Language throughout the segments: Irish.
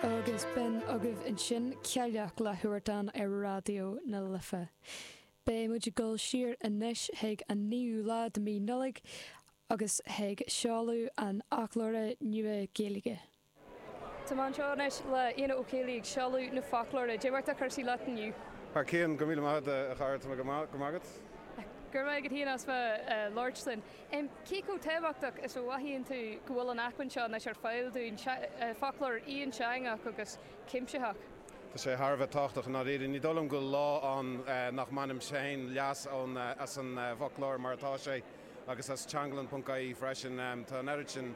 Agus b'in agaibh ansin Cailleach le Huartan ar Raidió na Life. Beidh muid ag dul siar anois chuig an naoú lá de mí Nollag agus chuig seoladh an fhoclóra nua Gaeilge. Tá mé anseo anois le Éanna Ó Ceallaigh ag seoladh na foclóra. Cad é mar atá cúrsaí leat inniu? Thar cionn, go raibh míle maith agat a chara, tá mé go maith, go maith agat? Go raibh maith agat féin as bheith ag labhairt linn. Cé chomh tábhachtach is a mhothaíonn tú go bhfuil an acmhainn seo anois ar fáil dúinn, foclóir aonteangach agus cuimsitheach? Tá sé thar a bheith tábhachtach i ndáiríre. Ní dóigh liom go bhfuil lá ann nach mbainim féin leas as an bhfoclóir mar atá sé agus as teanglann.ie freisin. Tá an oiread sin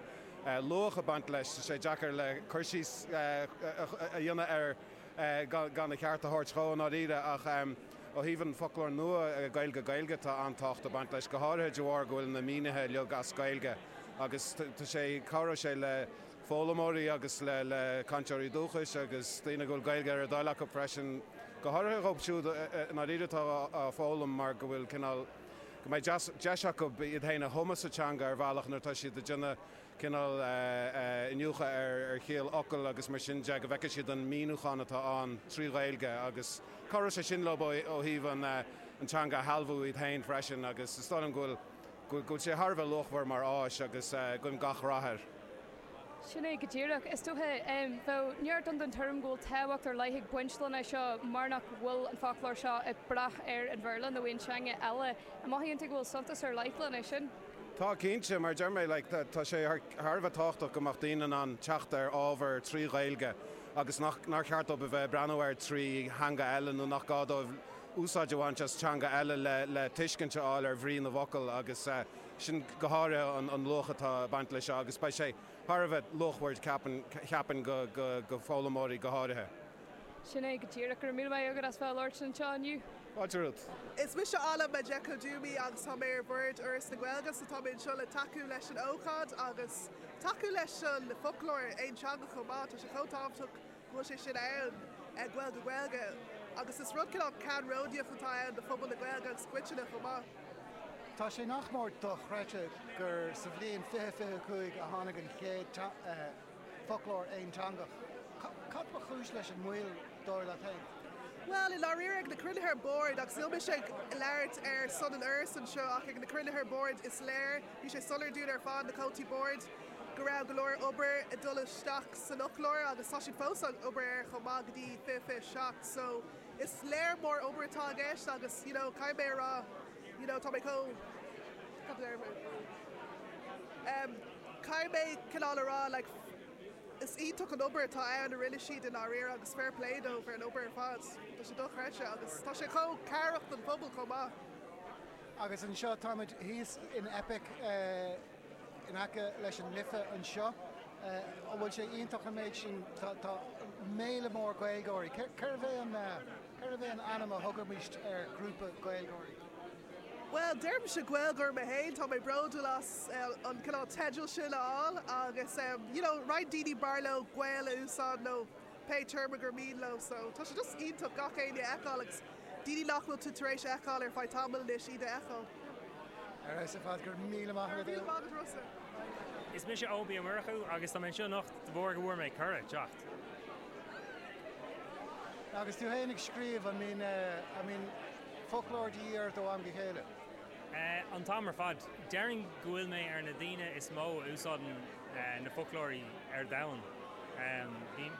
luach ag baint leis. Tá sé deacair le cur síos a dhéanamh air gan a cheart a thabhairt dhó i ndáiríre ach ó thaobh an foclóir nua Gaeilge-Gaeilge tá an-tábhacht ag baint leis, go háirithe de bharr go bhfuil na mínithe uilig as Gaeilge agus tá sé, cabhróidh sé le foghlaimeoirí agus le cainteoirí dúchais agus daoine go bhfuil Gaeilge ar a dtoil acu freisin, go háirithe dhóibh siúd i ndáiríre atá á foghlaim mar go bhfuil cineál, go mbeidh deis acu iad féin a thumadh sa teanga ar bhealach nuair atá siad ag déanamh cineál iniúchadh ar chiall fhocal agus mar sin de, go bhfeicfidh siad an míniúchán atá ann trí Ghaeilge agus cabhróidh sé sin leo ó thaobh an teanga a shealbhú iad féin freisin agus is dóigh liom go bhfuil go bhfuil sé thar a bheith luachmhar mar áis agus guím gach rath air. Sin é go díreach. Is dócha, bheadh neart ann den tuairim go bhfuil tábhacht ar leith ag baint lena seo mar nach bhfuil an foclóir seo ag brath ar an Bhéarla nó aon teanga eile. An mothaíonn tú go bhfuil suntas ar leith lena sin? Tá, cinnte. Mar a deir mé, like, tá sé thar a bheith tábhachtach go mbeadh daoine in ann teacht ar ábhar trí Ghaeilge agus nach, nár cheart dóibh a bheith ag breathnú air trí theanga eile nó nach gá dóibh úsáid a bhaint as teanga eile le, le tuiscint a fháil ar bhrí na bhfocal agus sin go háirithe an, an luach atá ag baint leis seo agus beidh sé thar a bheith luachmhar ceapaim, cheapfainn go, go, go foghlaimeoirí go háirithe. Sin é go díreach. Go raibh míle maith agat as bheith ag labhairt linn anseo inniu. Fáilte romhat. Is mise Ala Majekodunmi agus tá mé ar bhord Fhoras na Gaeilge so tá mé anseo le tacú leis an ócáid agus tacú leis an foclóir aonteangach chomh maith. Tá sé chomh tábhachtach go bhfuil sé sin ann, Gaeilge-Gaeilge, agus is rud cineál ceannródaíoch atá ann do phobal na Gaeilge agus coitinne chomh maith. Tá sé nach mór dochreidte gur sa bhliain 2025 a tháinig an chéad foclóir aonteangach. Cad ba chúis leis an moill, dar leat féin? Bhuel, i ndáiríre, ag na cruinnithe boird, agus níl mise ag labhairt ar son an Fhorais anseo, ach ag na cruinnithe boird is léir, bhí sé soiléir dúinn ar fad, na comhaltaí boird, go raibh go leor obair ag dul isteach san fhoclóir agus tá siad fós ag obair air chomh maith go dtí 2027 so is léir mór obair atá i gceist agus you know caithfidh mé a rá you know tá mé chomh cad a deir mé em caithfidh mé cineál a rá like is iontach an obair atá ann a rinne siad i ndáiríre agus fair play dóibh ar an obair ar fad. Tá sé dochreidte agus tá sé chomh cabhrach don phobal chomh maith. Agus anseo táimid thíos in Eipic eh. in aice leis an Life anseo. An bhfuil sé iontach an méid sin, tá méala mór Gaeilgeoirí. Cérbh é an, cérbh é an ainm a thugaimis ar ghrúpa Gaeilgeoirí? Bhuel, deirimse Gaeilgeoir mé féin, tá mé bródúil as an cineál teideal sin a fháil agus you know roinnt daoine b'fhearr leo Gael a úsáid nó pé téarma gur mian leo so tá sé just iontach gach éinne a fheiceáil agus daoine nach bhfuil tú tar éis a fheiceáil ar feadh tamaill anois iad a fheiceáil. Ar fheabhas ar fad, go raibh míle maith agat. Go raibh míle maith agat Rossa. Is mise Eoin Ó Murchú agus tá mé anseo anocht de bharr go bhfuair mé cuireadh teacht. Agus tú féin ag scríobh, an mbíonn, an mbíonn foclóir de dhíth ort ó am go chéile? An t-am ar fad. Déarfainn go bhfuil mé ar na daoine is mó a úsáideann na foclóirí ar domhan.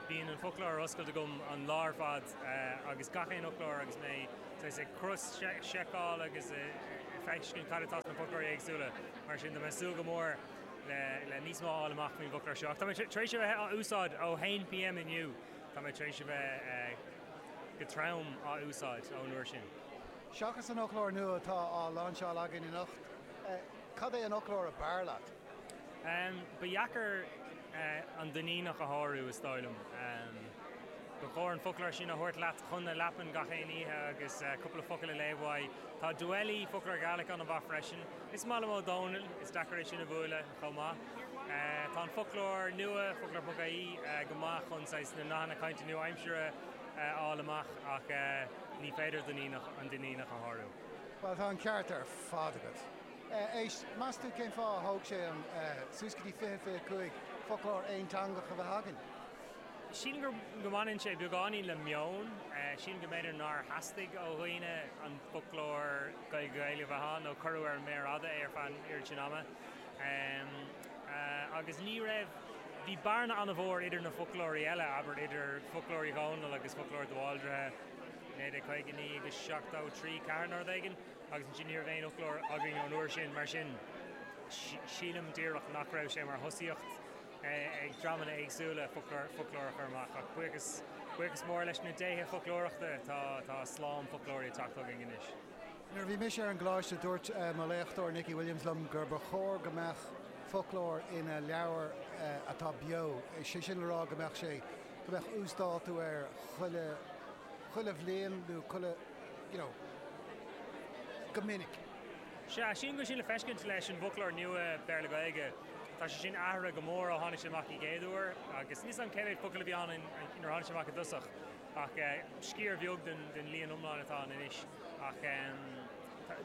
Bíonn an foclóir ar oscailt agam an lá ar fad agus gach aon fhoclóir agus mé saghas ag cros-seiceáil agus ag feiscint cad atá sna foclóirí éagsúla. Mar sin tá mé ag súil go mór le níos mó a fháil amach faoin bhfoclóir seo. Ach tá mé tar éis a bheith á úsáid ó 1 pm inniu, tá mé tar éis a bheith go trom á úsáid ón uair sin. Seachas an fhoclóir nua atá á láinseáil againn anocht, cad é an fhoclóir ab fhearr leat? Ba dheacair an Duinníneach a shárú, is dóigh liom. Ba chóir an foclóir sin a thabhairt leat chun na leapan gach aon oíche agus cúpla focal a léamh uaidh. Tá Dwelly, foclóir Gàidhlig, an-mhaith freisin. Is maith liom Ó Dónaill, is deacair é sin a bhualadh chomh maith. Tá an foclóir nua, foclóir.ie, go maith chun saghas na nathanna cainte nua-aimsire a fháil amach ach ní féidir Duinníneach, an Duinníneach a shárú. Bhuel, tá an ceart ar fad agat. Éist, meas tú cén fáth a thóg sé an suas go dtí 2025 foclóir aonteangach a bheith againn? Sílim gur go mbaineann sé beagáinín le meon. Sílim go mb'fhéidir nár theastaigh ó dhaoine an foclóir Gaeilge-Gaeilge a bheith ann nó cuireadh ar an méar fhada é ar feadh an oiread sin ama. Agus ní raibh, bhí bearna an-mhór idir na foclóirí eile, abair idir Foclóir Uí Dhónaill agus Foclóir de Bhaldraithe, 1959 agus 73, 4 nó rud éigin, agus ansin ní raibh aon fhoclóir againn ón uair sin, mar sin sílim díreach nach raibh sé mar thosaíocht. ag dreamanna éagsúla foclóir a chur amach ach buíochas, buíochas mór leis na déithe foclóireachta tá, tá slám foclóirí ag teacht chugainn anois. Nuair a bhí mise ar an gcoláiste dúirt mo léachtóir Nicky Williams liom gur ba chóir go mbeadh foclóir ina leabhar atá beo, sé sin le rá go mbeadh sé, go mbeadh uasdátú air chuile, chuile bhliain nó chuile, you know, go minic. Sea, sílim go bhfuil sin le feiscint leis an bhfoclóir nua Béarla-Gaeilge. Tá sé sin athraithe go mór ó tháinig sé amach an chéad uair agus níl 'fhios agam cé mhéad focal a bhí ann nuair a tháinig sé amach i dtosach ach sciar bheag den líon iomlán atá ann anois. Ach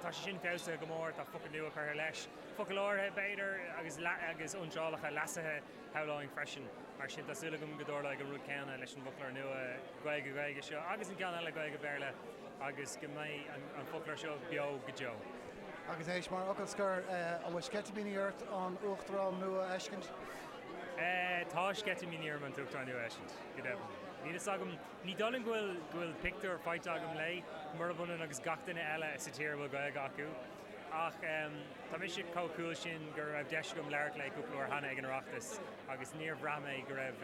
tá sé sin feabhsaithe go mór, tá focail nua curtha leis, focail áirithe b'fhéidir agus agus iontrálacha leasaithe shamhlóinn freisin. Mar sin tá súil agam go dtarlóidh an rud céanna leis an bhfoclóir nua Gaeilge-Gaeilge seo agus an ceann eile Gaeilge-Béarla agus go mbeidh an foclóir seo beo go deo. Agus éist, mar fhocal scoir, an bhfuil sceitimíní ort an Uachtarán nua a fheiscint? Tá sceitimíní orm an tUachtarán nua a fheiscint, go deimhin. Níl fhios agam, ní dóigh liom go bhfuil, go bhfuil pictiúr faighte agam léi, murab ionann agus gach duine eile sa tír a bhfuil Gaeilge acu. Ach tá mise chomh cool sin go raibh deis agam labhairt léi cúpla uair cheana ag an Oireachtas agus níor bhraith mé go raibh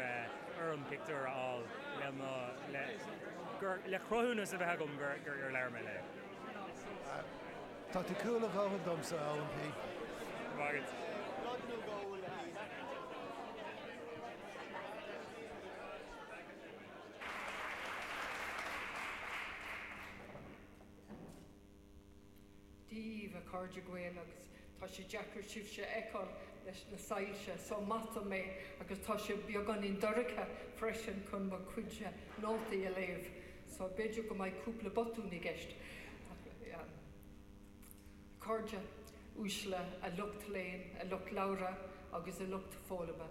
orm pictiúr a fháil le mo, le, gur, le cruthúnas a bheith agam gur, gur labhair mé léi. Tá tú cool a dhóthain domsa, a Eoin P. Go raibh maith agat. Dia daoibh, a chairde Gael, agus tá sé deacair sibhse a fheiceáil leis na soilse, so maith dom é, agus tá sé beagáinín dorcha freisin chun mo chuid nótaí a léamh, so b'fhéidir go mbeidh cúpla botún i gceist. A chairde uaisle, a lucht léinn, a lucht labhartha agus a lucht foghlama,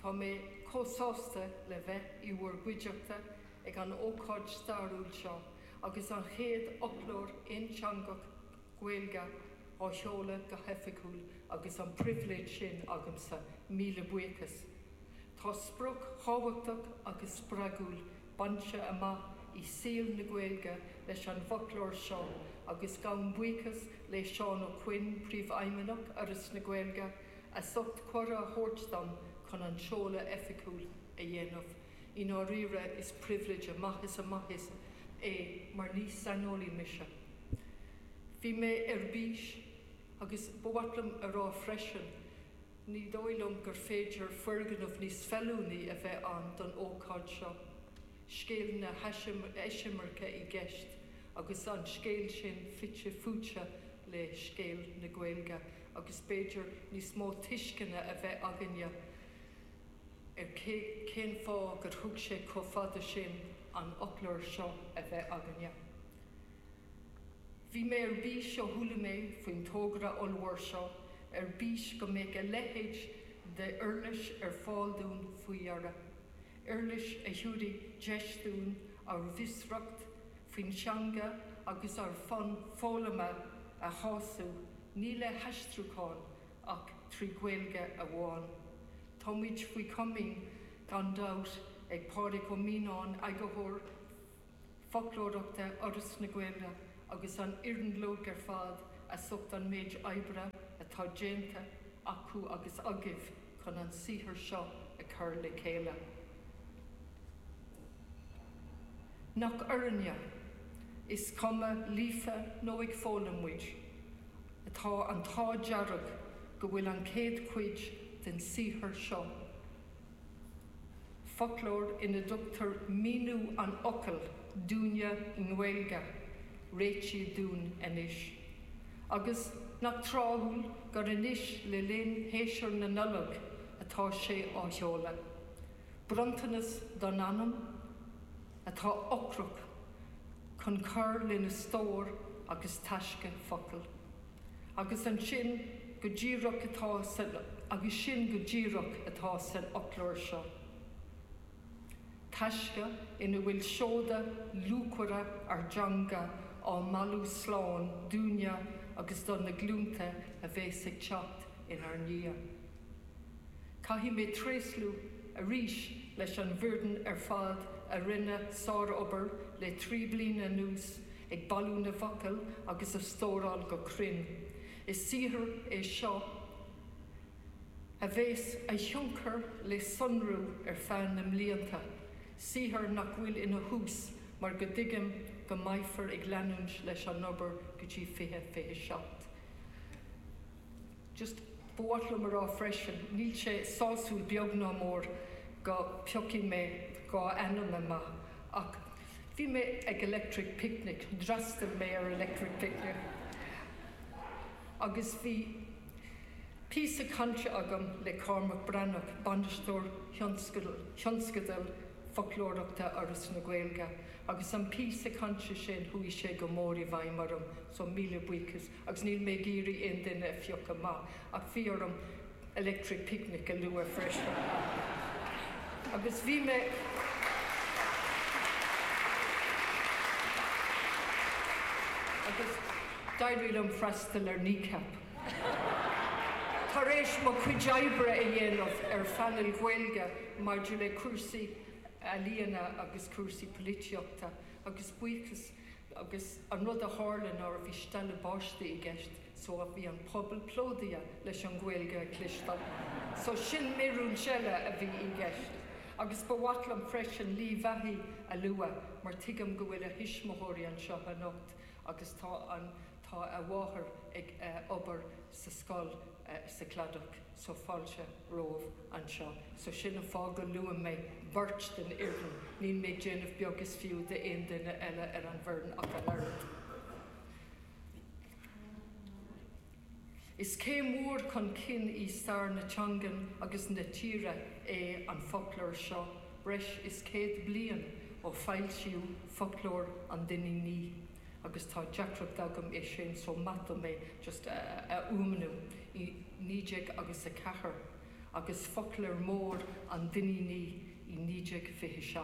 tá mé chomh sásta le bheith i bhur gcuideachta ag an ócáid stairiúil seo agus an chéad fhoclóir aonteangach Gaeilge á sheoladh go hoifigiúil agus an pribhléid sin agamsa, míle buíochas. Tá sprioc thábhachtach agus spreagúil bainte amach i saol na Gaeilge leis an bhfoclóir seo agus gabhaim buíochas le Seán Ó Coinn, Príomhfheidhmeannach Fhoras na Gaeilge, as ucht cuireadh a thabhairt dom chun an seoladh oifigiúil a dhéanamh. I ndáiríre is pribhléid amach is amach é mar ní saineolaí mise. Bhí mé ar bís agus ba mhaith liom a rá freisin, ní dóigh liom gur féidir foirgneamh níos feiliúnaí a bheith ann don ócáid seo. Scéal na heisimirce i gceist agus an scéal sin fite fuaite le scéal na Gaeilge agus b'fhéidir níos mó tuisceana a bheith againne ar cén fáth gur thug sé chomh fada sin an fhoclóir seo a bheith againne. Bhí mé ar bís ó chuala mé faoin togra ollmhór seo, ar bís go mbeadh a leithéid de uirlis ar fáil dúinn faoi dheireadh. Uirlis a thabharfaidh deis dúinn ár bhfiosracht faoin teanga agus ár bhfonn foghlama a shású, ní le haistriúchán ach trí Ghaeilge amháin. Táimid faoi chomaoin, gan dabht, ag Pádraig Ó Mianáin, Eagarthóir Foclóireachta Fhoras na Gaeilge, agus an fhoireann uilig ar fad as ucht an méid oibre atá déanta acu agus agaibh chun an saothar seo a chur le chéile. Nach orainne, is cuma líofa nó ag foghlaim muid, atá an t-ádh dearg go bhfuil an chéad chuid den saothar seo, foclóir ina dtugtar míniú an fhocail dúinne i nGaeilge, réitithe dúinn anois. Agus nach tráthúil gur anois le linn shéasúr na Nollag atá sé á sheoladh. Bronntanas don anam atá ocrach chun cur lena stór agus taisce focal. Agus ansin go díreach atá san agus sin go díreach atá san fhoclóir seo. Taisce ina bhfuil seoda luachmhara ár dteanga á mbailiú slán dúinne agus do na glúnta a bheas ag teacht inár ndiaidh. Caithfidh mé tréaslú arís leis an bhfoireann ar fad a rinne sárobair le 3 bliana anuas ag bailiú na bhfocal agus a stóráil go cruinn. Is saothar é seo a bheas a thionchar le sonrú ar feadh na mblianta, saothar nach bhfuil ina thús mar go dtuigim go mbeifear ag leanúint leis an obair go dtí 2027. Just ba mhaith liom a rá freisin, níl sé sásúil beag ná mór go piocfaidh mé 2 ainm amach ach bhí mé ag Electric Picnic, d'fhreastail mé ar Electric Picnic agus bhí píosa cainte agam le Cormac Breathnach, bainisteoir thionscadal foclóireachta Fhoras na Gaeilge, agus an píosa cainte sin, chuaigh sé go mór i bhfeidhm orm, so míle buíochas, agus níl mé ag iarraidh aon duine a phiocadh amach, ach bhí orm Electric Picnic a lua freisin. Agus bhí mé. Agus d'éirigh liom freastal ar Kneecap. Tar éis mo chuid oibre a dhéanamh ar phainéil Ghaeilge maidir le cúrsaí ealaíona agus cúrsaí polaitíochta agus buíochas agus an rud a tharla ná bhí stealladh báistí i gceist so bhí an pobal plódaithe leis an Ghaeilge a chloisteáil. So sin míorúilt eile a bhí i gceist. Agus ba mhaith liom freisin Lee Vahey a lua mar tuigim go bhfuil a thuismitheoirí anseo anocht agus tá an Tá a mháthair ag obair sa scoil sa Chladach so fáilte romhaibh anseo. So sin an fáth go luaim mé beirt den fhoireann. Níl mé ag déanamh beag is fiú d'aon duine eile ar an bhfoireann ach an oiread. Is céim mhór chun cinn i stair na teangan agus na tíre é an foclóir seo, breis is 100 bliain ó foilsíodh Foclóir an Duinnínigh. agus tá deacracht agam é sin so maith dom é just a fhuaimniú, i 19 agus 4 agus Foclóir Mór an Duinnínigh i 1927.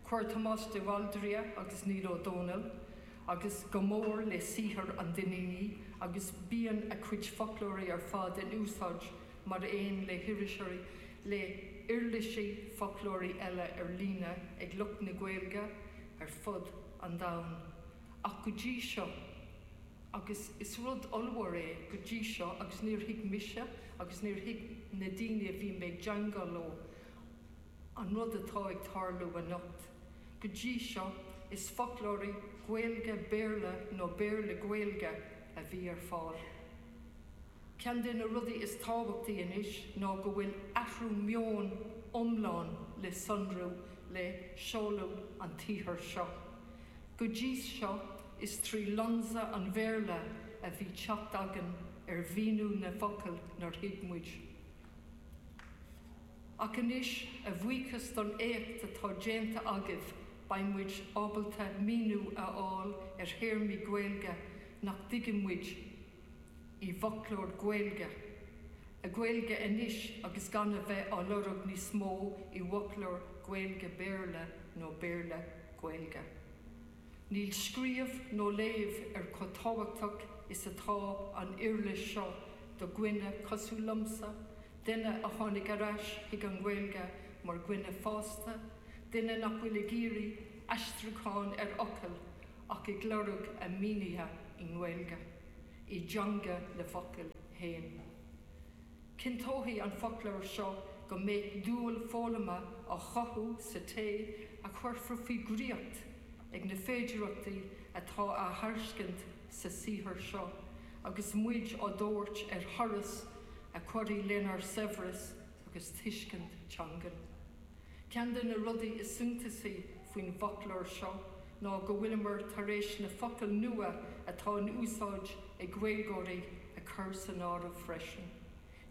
Chuir Tomás de Bhaldraithe agus Niall Ó Dónaill agus go mór le saothar an Duinnínigh agus bíonn a chuid foclóirí ar fad in úsáid mar aon le hiriseoirí le huirlisí foclóirí eile ar líne ag lucht na Gaeilge ar fud an domhain. Ach go dtí seo, agus is rud ollmhór é go dtí seo agus níor thuig mise agus níor thuig na daoine a bhí mé ag teagmháil leo an rud atá ag tarlú anocht. Go dtí seo, is foclóirí Gaeilge-Béarla nó Béarla-Gaeilge a bhí ar fáil. Ceann de na rudaí is tábhachtaí anois ná go bhfuil athrú meoin iomlán le sonrú le seoladh an tsaothair seo. Go dtí seo, is trí lionsa an Bhéarla a bhí teacht againn ar mhíniú na bhfocal nár thuig muid. Ach anois, a bhuíochas don éacht atá déanta agaibh, beidh muid ábalta míniú a fháil ar théarmaí Gaeilge nach dtuigeann muid i bhfoclóir Gaeilge, Gaeilge anois agus gan a bheith á lorg níos mó i bhfoclóir Gaeilge-Béarla nó Béarla-Gaeilge. Níl scríobh nó léamh ar chomh tábhachtach is atá an uirlis seo do dhuine cosúil liomsa, duine a tháinig ar ais chuig an nGaeilge mar dhuine fásta, duine nach bhfuil ag iarraidh aistriúchán ar fhocail ach ag lorg a mínithe i nGaeilge, i dteanga na bhfocal féin. Cinnteoidh an foclóir seo go mbeidh dúil foghlama á chothú sa té a chuirfear faoi dhraíocht ag na féidearthachtaí atá á thairiscint sa saothar seo agus muid á dtabhairt ar thuras a chuirfidh lenár saibhreas agus tuiscint teangan. Ceann de na rudaí is suntasaí faoin bhfoclóir seo ná go bhfuileamar tar éis na focail nua atá in úsáid ag Gaeilgeoirí a chur san áireamh freisin.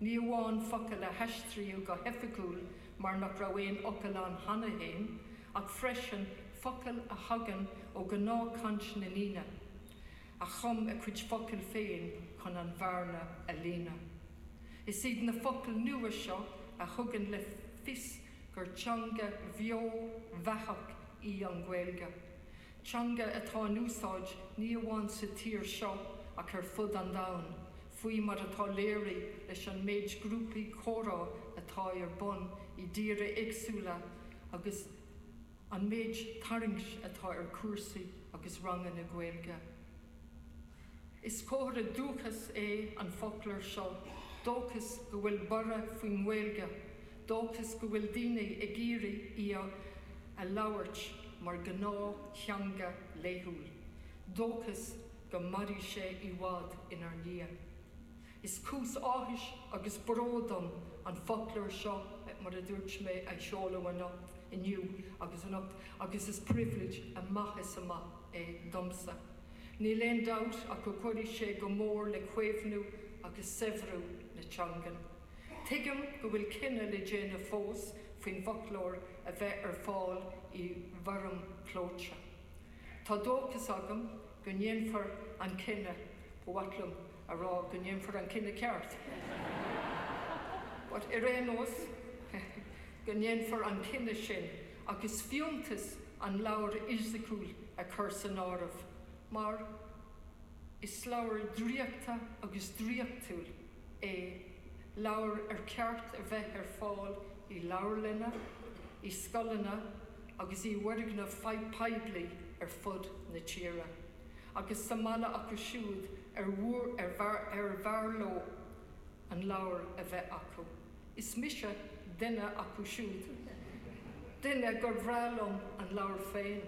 Ní amháin focail a haistríodh go hoifigiúil mar nach raibh aon fhocal ann cheana féin, ach freisin focail a thagann ó ghnáthchaint na ndaoine a chum a gcuid focal féin chun an bhearna a líonadh. Is iad na focail nua seo a thugann le fios gur teanga bheo bheathach í an Ghaeilge. Teanga atá in úsáid ní amháin sa tír seo ach ar fud an domhain, faoi mar atá léirithe leis an méid grúpaí comhrá atá ar bun i dtíortha éagsúla agus an méid tarraingt atá ar chúrsaí agus ranganna Gaeilge. Is comhartha dóchais é an foclóir seo, dóchas go bhfuil borradh faoin nGaeilge, dóchas go bhfuil daoine ag iarraidh í a labhairt mar ghnáth-theanga laethúil, dóchas go mairfidh sé i bhfad inár ndiaidh. Is cúis áthais agus bróid dom an foclóir seo, mar a dúirt mé, a sheoladh anocht, inniu agus anocht, agus is pribhléid amach is amach é domsa. Níl aon dabht ach go gcuirfidh sé go mór le caomhnú agus saibhriú na teangan. Tuigim go bhfuil cinneadh le déanamh fós faoin bhfoclóir a bheith ar fáil i bhfoirm clóite. Tá dóchas agam go ndéanfar an cinneadh, ba mhaith liom a rá go ndéanfar an cinneadh ceart, but ar aon nós, go ndéanfar an cinneadh sin agus fiúntas an leabhair fhisiciúil a chur san áireamh, mar is leabhar draíochta agus draíochtúil é, leabhar ar cheart a bheith ar fáil i leabharlanna, i scoileanna agus i bhfoirgnimh poiblí ar fud na tíre, agus sa mbaile acu siúd ar ar bhfearr leo an leabhar a bheith acu. Is mise duine acu siúd, duine gur bhreá liom an leabhar féin,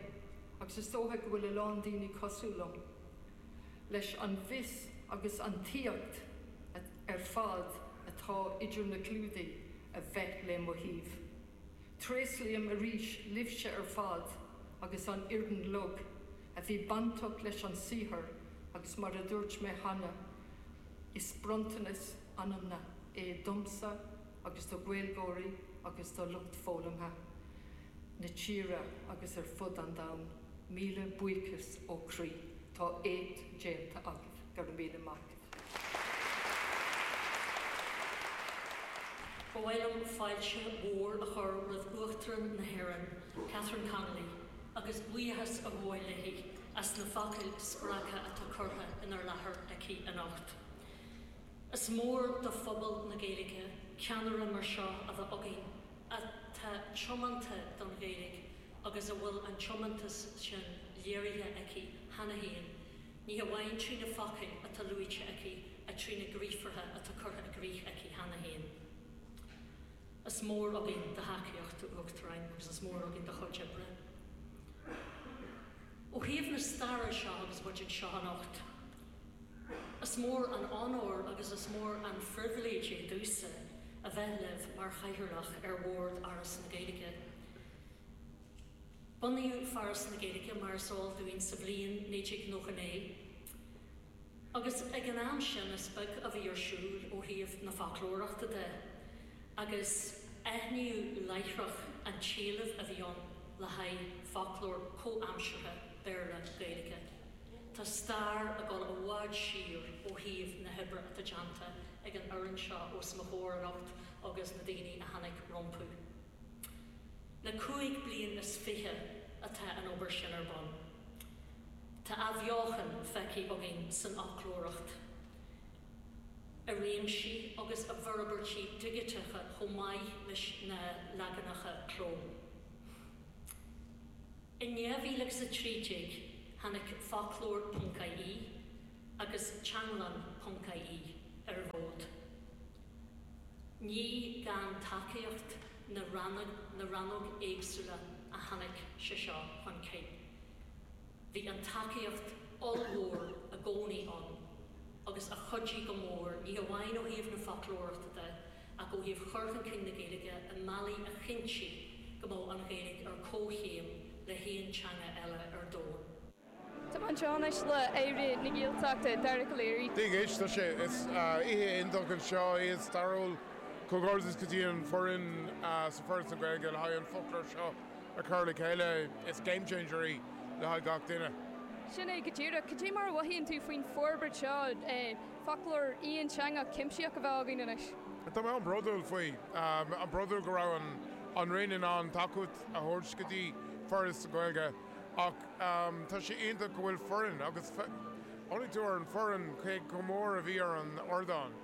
agus is dócha go bhfuil a lán daoine cosúil liom, leis an bhfios agus an tsaíocht ar fad atá idir na clúdaigh a bheith le mo thaobh. Tréaslaím arís libhse ar fad agus an fhoireann uilig a bhí bainteach leis an saothar agus mar a dúirt mé cheana, is bronntanas anamna é domsa agus do Ghaeilgeoirí agus do lucht foghlamtha na tíre agus ar fud an domhain. Míle buíochas ó chroí. Tá éacht déanta agaibh. Go raibh míle maith agaibh. Ba mhaith liom fáilte mhór a chur roimh Uachtarán na hÉireann, Catherine Connolly, agus buíochas a ghabháil léi as na focail spreagtha atá curtha inár láthair aici anocht. Is mór do phobal na Gaeilge ceannaire mar seo a bheith againn atá tiomanta don Ghaeilge agus a bhfuil an tiomantas sin léirithe aici cheana féin, ní hamháin trí na focail atá luaite aici ach trí na gníomhartha atá curtha i gcrích aici cheana féin. Is mór againn do thacaíocht, a Uachtaráin, agus is mór againn do chuid oibre. Ó thaobh na staire seo agus muid anseo anocht, is mór an onóir agus is mór an phribhléid é domhsa a bheith libh mar Chathaoirleach ar Bhord Fhoras na Gaeilge. Bunaíodh Foras na Gaeilge, mar is eol dúinn, sa bhliain 1999 agus ag an am sin is beag a bhí ar siúl ó thaobh na foclóireachta de agus aithníodh láithreach an t-éileamh a bhí ann le haghaidh foclóir comhaimseartha Béarla-Gaeilge. Tá stair ag dul i bhfad siar ó thaobh na hoibre atá déanta ag an fhoireann seo os mo chomhair anocht agus na daoine a tháinig rompu. Le 25 bliain atá an obair sin ar bun. Tá athbheochan feicthe againn san fhoclóireacht, i réimsí agus i bhforbairtí digiteacha chomh maith leis na leaganacha cló. In 2013 tháinig Foclóir ponc ie agus Teanglann ponc ie ar an bhfód. Ní gan tacaíocht na na rannóg éagsúla a tháinig sé seo chun cinn. Bhí an tacaíocht ollmhór i gcónaí ann agus a chuidigh go mór, ní hamháin ó thaobh na foclóireachta de ach ó thaobh chur chun cinn na Gaeilge i mbealaí a chinntigh go mbeadh an Ghaeilge ar comhchéim le haon teanga eile ar domhan. Tá mé anseo anois le Aire na Gaeltachta, Dara Calleary. Dia dhuit, tá sé, is oíche iontach anseo, oíche stairiúil. Comhghairdeas go dtí an foireann sa Foras na Gaeilge le haghaidh an foclóir seo a chur le chéile. Is game changer í le haghaidh gach duine. Sin é go díreach. Cad é mar a mhothaíonn tú faoin forbairt seo, foclóir aonteangach cuimsitheach a bheith againn anois? Tá mé an-bhródúil faoi. An-bhródúil go raibh an. an Roinn in ann tacaíocht a thabhairt go dtí Foras na Gaeilge ach tá sé iontach go bhfuil foireann agus chonaic tú ar an foireann cé chomh mór a bhí ar an ardán,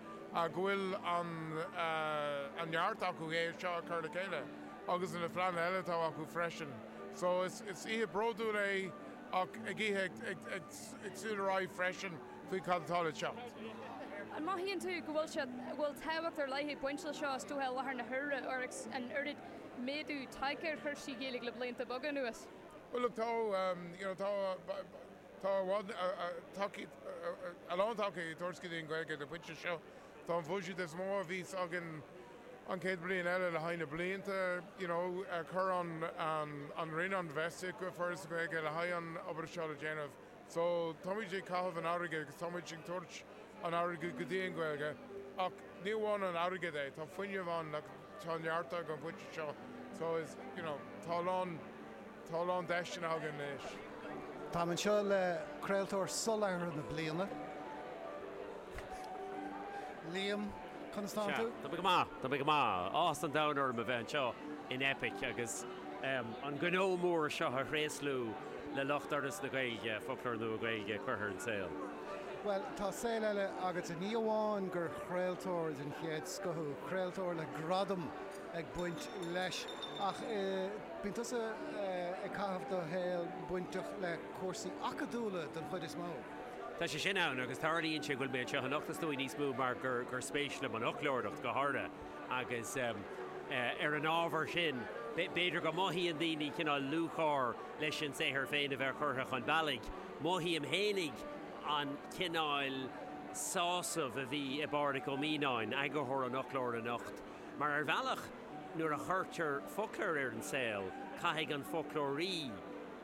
go bhfuil an neart acu é seo a chur le chéile agus na pleananna eile atá acu freisin. So is oíche bródúil é ach ag oíche ag súil ar aghaidh freisin faoi cad atá le teacht. An mothaíonn tú go bhfuil sé, go bhfuil tábhacht ar leith ag baint leis seo is dócha i láthair na huaire agus an oiread méadú tagtha ar chúrsaí Gaeilge le blianta beaga anuas? Well look tá, you know, tá, tá i bhfad, tacaíocht, a lán tacaíocht ag tabhairt go dtí an Ghaeilge ag an bpointe seo. Tá an bhuiséad is mó a bhíos againn an chéad bhliain eile le haghaidh na blianta, you know, chuir an, an Roinn an infheistíocht go Foras na Gaeilge le haghaidh an obair seo le déanamh. So, táimid ag caitheamh an airgid agus táimid ag tabhairt an airgid go dtí an Ghaeilge ach ní amháin an airgead é, tá fuinneamh ann like tá neart ag an bpointe seo so is, you know, tá a lán, tá a lán deiseanna againn anois. Táim anseo le Craoltóir Soláthraithe na Bliana, Liam, conas tánn Sea, tú? tá mé go maith, tá mé go maith. Áthas an domhain orm a bheith anseo in Eipic agus an gnó mór seo a thréaslú le lucht Fhoras na Gaeilge, Foclóir Nua Gaeilge curtha ar an saol. Bhuel, tá saol eile agatsa. Ní amháin gur chraoltóir den chéad scoth thú, craoltóir le gradam ag baint leis, ach bíonn tusa ag caitheamh do shaoil bainteach le cúrsaí acadúla den chuid is mó. Tá sé sin ann, agus tarlaíonn sé go bhfuil mé anseo anocht is dóigh níos mó mar gur spéis liom an fhoclóireacht go háirithe agus ar an ábhar sin b'fhéidir go mothaíonn daoine cineál lúcháir leis an saothar féin a bheith curtha chun bealaigh. Mothaím fhéinig an cineál sásaimh a bhí i bPádraig Ó Mianáin, eagarthóir an fhoclóra anocht, mar ar bhealach nuair a chuirtear foclóir ar an saol caithfidh an foclóirí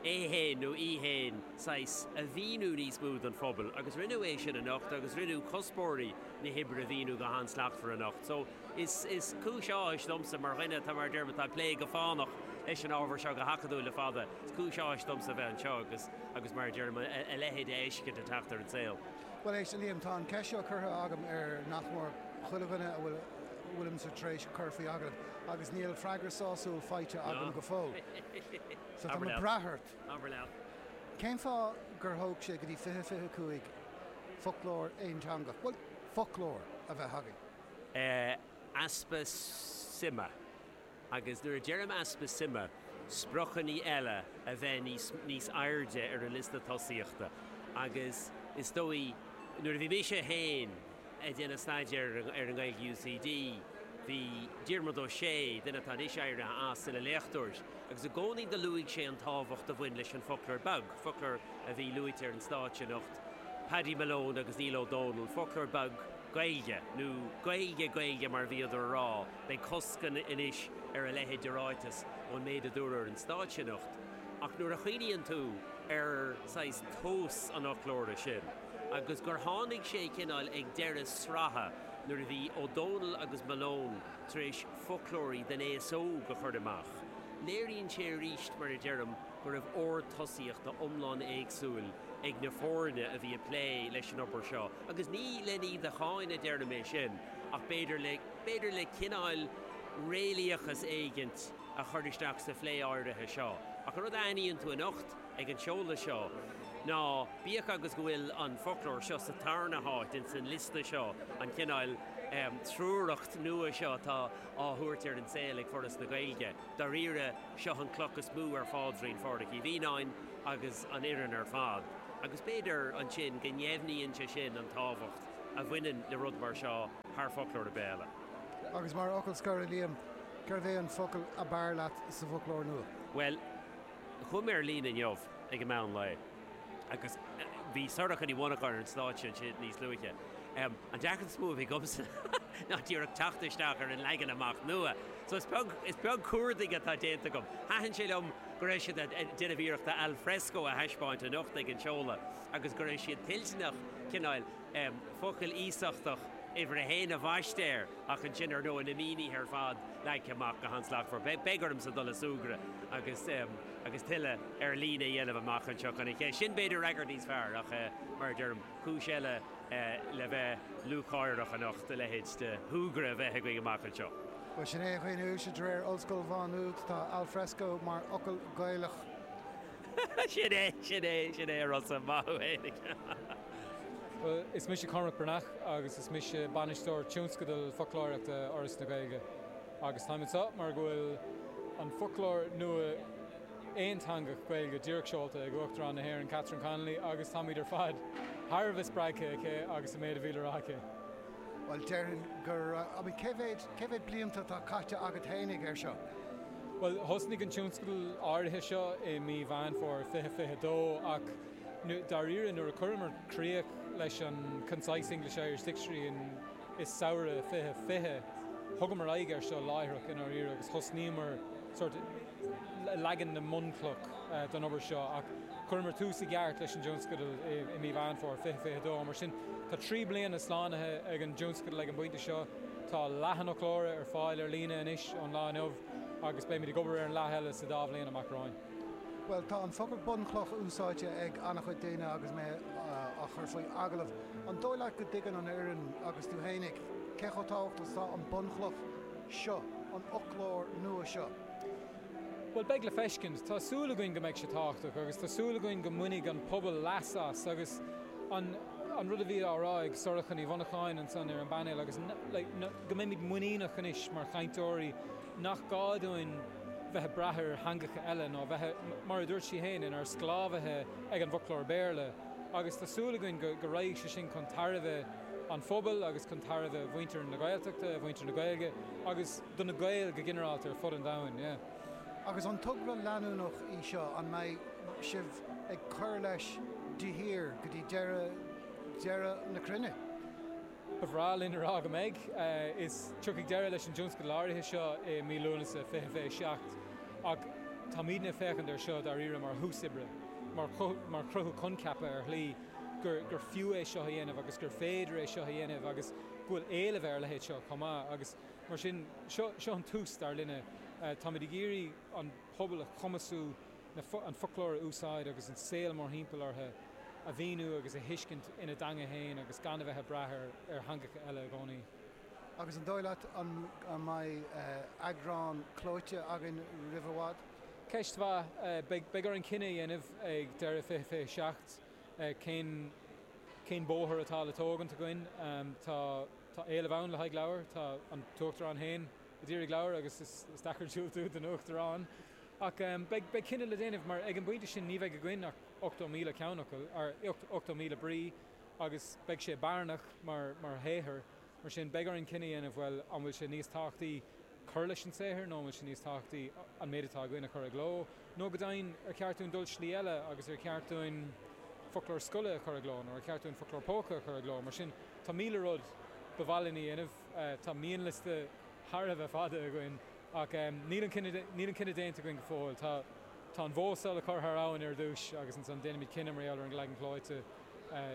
é fhéin nó í fhéin saghas a mhíniú níos mó don phobal agus rinneadh é sin anocht agus rinneadh cuspóirí na hoibre a mhíniú go han-slachtmhar anocht. So is is cúis áthais domsa mar dhuine atá mar a deirim atá ag plé go fánach leis an ábhar seo go hacadúil le fada, is cúis áthais domsa a bheith anseo agus agus mar a deirim a leithéid a fheiscint ag teacht ar an saol. Bhuel éist, a Liam, tá an ceist seo curtha agam ar nach mór chuile dhuine a bhfuil a bhfuilimse tar éis cur faoi agallamh agus níl freagra sásúil faighte agam go fóill. So tá mé ag brath ort. Abair leat. Cén fáth gur thóg sé go dtí 2025 foclóir aonteangach, bhuel, foclóir, a bheith againn? Easpa suime. Agus nuair a deirim easpa suime, spriocanna eile a bheith níos, níos airde ar an liosta tosaíochta. Agus is dóigh, nuair a bhí mise féin ag déanamh staidéir ar an nGaeilge UCD, bhí Diarmuid Ó Sé, duine atá anois éirithe as, ina léachtóir, agus i gcónaí do luaigh sé an tábhacht a bhain leis an foclóir beag, foclóir a bhí luaite ar an stáitse anocht, Paddy Malone agus Niall Ó Dónaill, foclóir beag Gaeilge, nó Gaeilge Gaeilge mar a bhíodar a rá, beidh cosc anois ar a leithéid de ráiteas ón méid a dúradh ar an stáitse anocht. Ach nuair a chuimhníonn tú ar saghas tomhas an fhoclóra sin, agus gur tháinig sé cineál ag deireadh sraithe nuair a bhí Ó Dónaill agus Malone tar éis foclóirí don aos óg a chur amach, léiríonn sé arís, mar a deirim, go raibh ord tosaíochta iomlán éagsúil ag na foirne a bhí ag plé leis an obair seo. Agus ní len iad a cháineadh a deirim é sin, ach b'fhéidir le, b'fhéidir le cineál réalaíochas éigint a chur isteach sa phlé áirithe seo. Ach an rud a aithníonn tú anocht ag an seoladh seo ná, bíodh agus go bhfuil an foclóir seo sa tarna háit ins an liosta seo, an cineál triúracht nua seo atá á thabhairt ar an saol ag Foras na Gaeilge, dáiríre, seo an cloch is mó ar phaidrín Phádraig Uí Mhianáin agus an fhoireann ar fad. Agus b'fhéidir ansin go ndeimhníonn sé sin an tábhacht a bhaineann le rud mar seo thar foclóir ar bith eile. Agus mar fhocal scoir, a Liam, cérbh é an focal ab fhearr leat sa bhfoclóir nua? Bhuel, chuaigh mé ar líne inniu ag an meán lae agus bhí Sorcha Ní Mhonacháin ar an stáitse ansin níos luaithe. An deacracht is mó a bhí agamsa ná díreach teacht isteach ar an leagan amach nua. So is beag, is beag cuardaigh atá déanta agam. Thaitin sé liom go raibh siad ag déanamh iarrachta al fresco a thaispeáint anocht ag an seoladh agus go raibh siad toilteanach cineál focal iasachtach uimhir a haon a bhaisteadh air ach ansin ar ndóigh na mínithe ar fad leagtha amach go han-slachtmhar. Beidh ormsa dul ag súgradh agus agus tuilleadh ar líne a dhéanamh amach anseo chun an cheist sin b'fhéidir a fhreagairt níos fearr ach mar a deirim, cúis eile le bheith lúcháireach anocht a leithéid de thogra a bheith againn amach anseo. Bhuel, sin é a dhaoine uaisle, de réir Ollscoil Mhá Nuad, tá alfresco mar fhocal Gaelach. Sin é, sin é, sin é a Rossa, maith thú fhéinig. Bhuel, is mise Cormac Breathnach agus is mise Bainisteoir Tionscadal Foclóireachta Fhoras na Gaeilge. Agus táim anseo mar go bhfuil an foclóir nua aonteangach Gaeilge díreach seolta ag Uachtarán na hÉireann Catherine Connolly agus táimid ar fad thar a bheith spreagtha aici agus an méid a bhí le rá aici. Bhuel, déarfainn gur, I mean, cé mhéad, cé mhéad blianta atá caite agat fhéinig air seo? Bhuel, thosnaigh an tionscadal áirithe seo i mí Mheán Fómhair 2022 ach dáiríre nuair a chuireamar críoch leis an Concise English-Irish Dictionary in i samhradh 2020, thugamar aghaidh air seo láithreach i ndáiríre agus thosnaíomar sórt leagan na mbunchloch don obair seo ach chuireamar tús i gceart leis an dtionscadal i mí Mheán Fómhair 2022. Mar sin, tá 3 bliana slánaithe ag an dtionscadal ag an bpointe seo. Tá leath an fhoclóra ar fáil ar líne anois ón lá inniu agus beimid ag obair ar an leath eile sa dá bhliain amach romhainn. Bhuel, tá an focal bunchloch úsáidte ag an-chuid daoine agus mé á chur faoi agallamh. An dóigh leat go dtuigeann an fhoireann agus tú fhéinig cé chomh tábhachtach is atá an bunchloch seo, an fhoclóir nua seo? Bhuel, beidh le feiscint. Tá súil againn go mbeidh sé tábhachtach agus tá súil againn go mbainfidh an pobal leas as agus an an rud a bhí á rá ag Sorcha Ní Mhonacháin ansan ar an bpainéal agus like go mbeimid muiníneach anois mar chainteoirí nach gá dúinn bheith ag brath ar theangacha eile nó bheith, mar a dúirt sí féin, inár sclábhaithe ag an bhfoclóir Béarla agus tá súil againn go raghaidh sé sin chun tairbhe an phobail agus chun tairbhe mhuintir na Gaeltachta, mhuintir na Gaeilge agus do na Gaeil go ginearálta ar fud an domhain. Yeah. Agus an togra leanúnach í seo, an mbeidh sibh ag cur leis de shíor go dtí deireadh deireadh na cruinne? Ba bhreá linn a rá go mbeidh. Is tiocfaidh deireadh leis an dtionscadal áirithe seo i mí Lúnasa 2027 ach táimidne ag féachaint air seo dáiríre mar thús oibre, mar chruthú coincheapa ar shlí gur gur fiú é seo a dhéanamh agus gur féidir é seo a dhéanamh agus go bhfuil éileamh ar a leithéid seo chomh maith agus mar sin seo seo an tús dar linne. Táimid ag iarraidh an pobal a chumasú an foclóir a úsáid agus an saol mórthimpeall orthu a mhíniú agus a thuiscint ina dteanga féin agus gan a bheith ag brath ar theangacha eile i gcónaí. Agus an dóigh leat an mbeidh eagrán clóite againn roimh i bhfad? Ceist mhaith. Beidh orainn cinneadh a dhéanamh ag deireadh 2027 cén cén bóthar atá le tógaint againn. Tá tá éileamh ann le haghaidh leabhar. Tá an tUachtarán féin a d'iarraidh leabhar agus is deacair diúltú don Uachtarán. Ach beidh cinneadh le déanamh mar ag an bpointe sin ní bheidh againn ach 80,000 ceannfhocal, or 80,000 brí agus beidh sé barainneach mar shaothar. Mar sin beidh orainn cinneadh a dhéanamh, bhuel, an bhfuil sé níos tábhachtaí cur leis an saothar nó an bhfuil sé níos tábhachtaí an méid atá againn a chur i gcló? Nó go deimhin, ar cheart dúinn dul slí eile agus ar cheart dúinn foclóir scoile a chur i gcló nó ar cheart dúinn foclóir póca a chur i gcló? Mar sin tá 1,000 rud ba mhaith linn a dhéanamh. Tá mianliosta thar a bheith fada againn. Ach níl an cinneadh, níl an cinneadh déanta againn go fóill. Tá, tá an bhó seo le cur thar abhainn ar dtús agus ansan déanfaimid cinneadh mar gheall ar an leagan clóite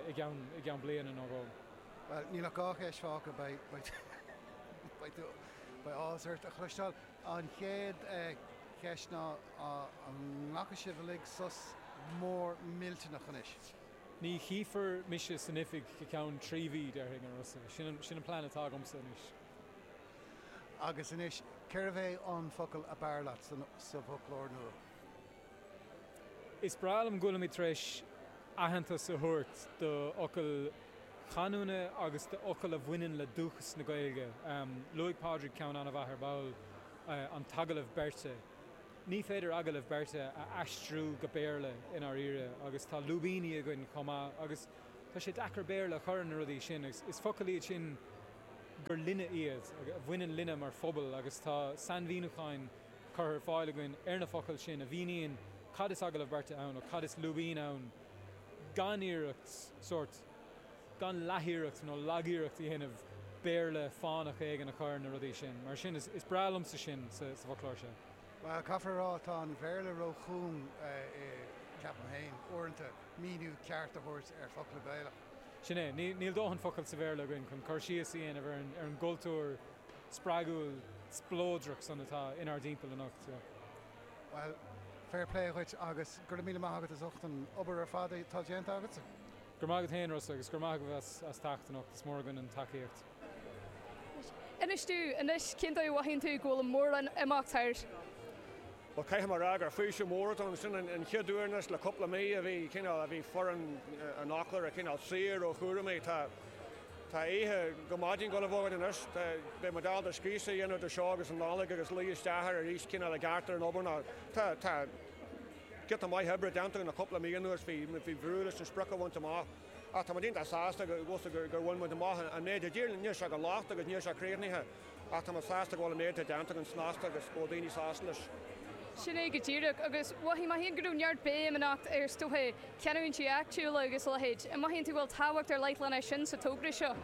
i gceann, i gceann bliana nó dhó. Bhuel, níl ach dhá cheist fágtha, beidh, beidh, beidh tú, beidh áthas ort a chloisteáil. An chéad cheist ná, an nglacfaidh sibh uilig sos mór millteanach anois? Ní chífear mise san oifig go ceann 3 mhí, déarfainn, a Rossa. Sin an, sin an plean atá agamsa anois. Agus anois, cérbh é an focal ab fhearr leat sa bhfoclóir nua? Is breá liom go bhfuilimid tar éis aitheantas a thabhairt do fhocail chanúna agus do fhocail a bhaineann le dúchas na Gaeilge. Luaigh Pádraig ceann an-mhaith ar ball, an t-agallamh beirte. Ní féidir agallamh beirte a aistriú go Béarla i ndáiríre agus tá lúibíní againn chomh maith agus tá sé deacair Béarla a chur ar na rudaí sin agus is focail iad sin gur linne iad, a bhaineann linne mar phobal agus tá sainmhíniúcháin curtha ar fáil againn ar na focail sin a mhíníonn cad is agallamh beirte ann nó cad is lúibín ann gan iarracht sórt, gan leathiarracht nó lagiarracht a dhéanamh Béarla fánach éigin a chur ar na rudaí sin. Mar sin, is breá liomsa sin sa bhfoclóir seo. Bhuel, caithfear a rá, tá an Bhéarla ró-chúng, ceapaim féin, uaireanta, míniú ceart a thabhairt ar focla Gaelach. Sin é. Níl dóthain focal sa Bhéarla againn chun cur síos a dhéanamh ar an gcultúr spreagúil spleodrach san atá inár dtimpeall anocht. Bhuel, fair play dhuit agus go raibh míle maith agat as ucht an obair ar fad atá déanta agatsa. Go raibh maith agat féin, Rossa, agus go raibh maith agaibh as teacht anocht. Is mór againn an tacaíocht. Inis domh anois, cén dóigh a mhothaíonn tú go bhfuil an mór-imeacht thart? Bhuel, caithfidh mé a rá gur faoiseamh mór atá ann. Sin an chéad uair anois le cúpla mí a bhí cineál, a bhí foireann an fhoclóra cineál saor ó chúramaí. Tá, tá oíche go maidin ag dul a bheith againn anois. Tá, beidh muid ábalta scriosadh a dhéanamh de seo agus an Nollaig agus luí isteach air arís cineál i gceart ar an obair ná tá, tá giota maith oibre déanta againn le cúpla mí anuas. Bhí, bhí brú leis an sprioc a bhaint amach ach tá muid iontach sásta go, go, gur bhain muid amach an méid a d'iarr. Níl sé gan locht agus níl sé críochnaithe. Ach tá muid sásta go bhfuil an méid atá déanta againn snasta agus go bhfuil daoine sásta leis. Sin é go díreach. Agus mhothaigh mé féin go raibh neart béim anocht ar is dócha canúintí áitiúla agus a leithéid. An mothaíonn tú go bhfuil tábhacht ar leith lena sin sa togra seo?